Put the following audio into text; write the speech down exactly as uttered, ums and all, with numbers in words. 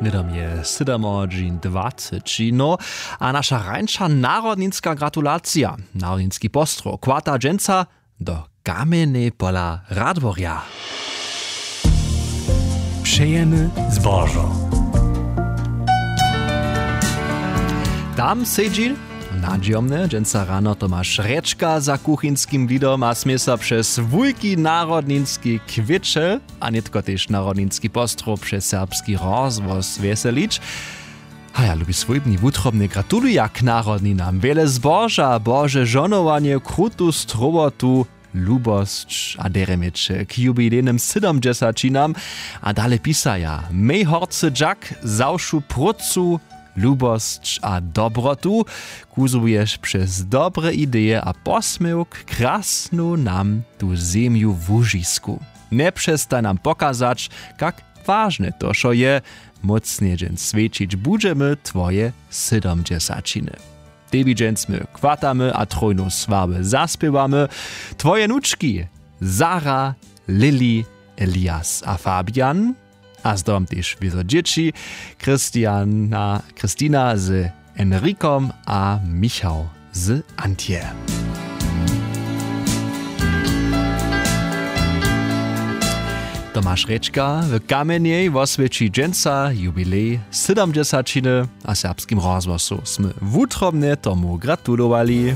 Hnydom je sydomohodźin dwaceći, no, a naša rańša narodninska gratulacija, narodninski postrow kłata dźensa do Kamjenjej pola Radworja. Přejemy zbožo. Tam sedźi nadźijomnje dźensa rano Tomaš Rječka za kuchinskim widom a smě so přez wulki narodninski kwěćel a nětko tež narodninski postrow přez serbski rozhłos wjeselić. Haja, lubi swójbni, wutrobnje gratuluja k narodninam, wjele zboža, bože žonowanje, krutu strowotu, lubosć a derje měće k jubilejnym sydomdźesaćinam. A dale pisaja: Mej horcy dźak za wšu prócu, lubosć a dobrotu, kuzłuješ přez dobre ideje a posměwk krasnu nam tu zemju łužisku. Njepřestaj nam pokazać, kak wažne to wšo je. Mócnje dźens swjećić budźemy twoje sydomdźesaćiny. Tebi dźens my chwatamy a trójnu sławy zaspěwamy twoje nučki Sara, Lili, Elias a Fabian, a zdobom tež wězo dźěći, Christiana, Christina z Enrikom a Michał z Antje. Tomaš Rječka w Kamjenjej woswjeći dźensa jubilej sydomdźesaćiny, a w Serbskim rozhłosu smy wutrobnje tomu gratulowali.